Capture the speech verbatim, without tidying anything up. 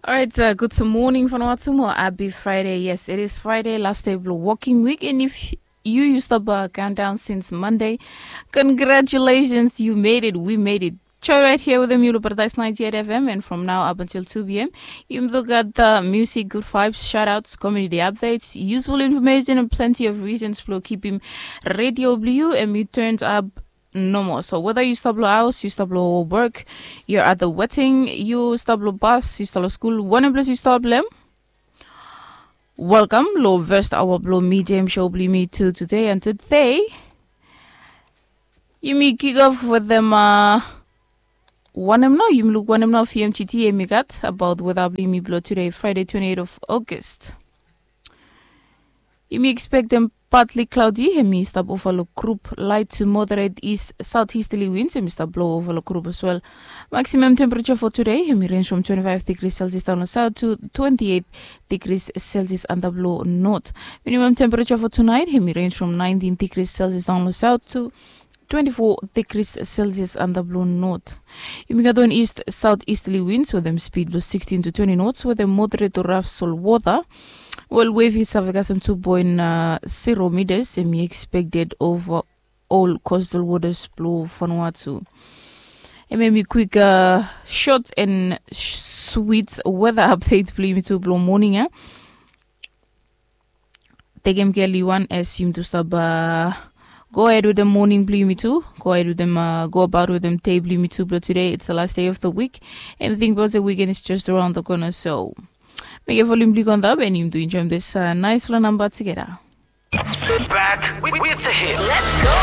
Alright, uh, good morning from Watumo. Happy Friday. Yes, it is Friday, last day of the working week. And if you you stop uh, countdown since Monday, congratulations, you made it. We made it. Joy right here with the Mule Paradise ninety-eight F M, and from now up until two p m, you look at the music, good vibes, shout outs, community updates, useful information, and plenty of reasons to keep him radio blue and you turned up no more. So whether you stop lo house, you stop lo work, you're at the wedding, you stop lo bus, you stop lo school, whatever place you stop them. Welcome lo first hour blo mi jam show blo mi tu today and today. Yumi kick off with them uh, wanem nao, yumi luk wanem nao fi M G T yumi gat about weather blo yumi blo today, Friday twenty-eight of August. Yumi expect them partly cloudy, hemi stap over lo group, light to moderate east southeasterly winds, hemi stap blow over lo group as well. Maximum temperature for today, hemi range from twenty-five degrees Celsius down south to twenty-eight degrees Celsius under blow north. Minimum temperature for tonight, hemi range from nineteen degrees Celsius down south to twenty-four degrees Celsius under blow north. Yumi gat on east southeasterly winds with them speed blow sixteen to twenty knots with them moderate to rough sol water. Well, wave is have got some two point uh, zero meters, and we expected over all coastal waters blow Vanuatu. And maybe quick uh, short and sweet weather update blo yumi tu blo morning, eh? Tekem keli wan as yumi tu stap uh, go ahead with the morning blo yumi tu. Go ahead with them uh, go about with them day blo yumi tu blo today. It's the last day of the week. And think about the weekend is just around the corner, so make a volume blo yumi tu enjoy this uh, nice little number together. Back with, with the hits. Let's go.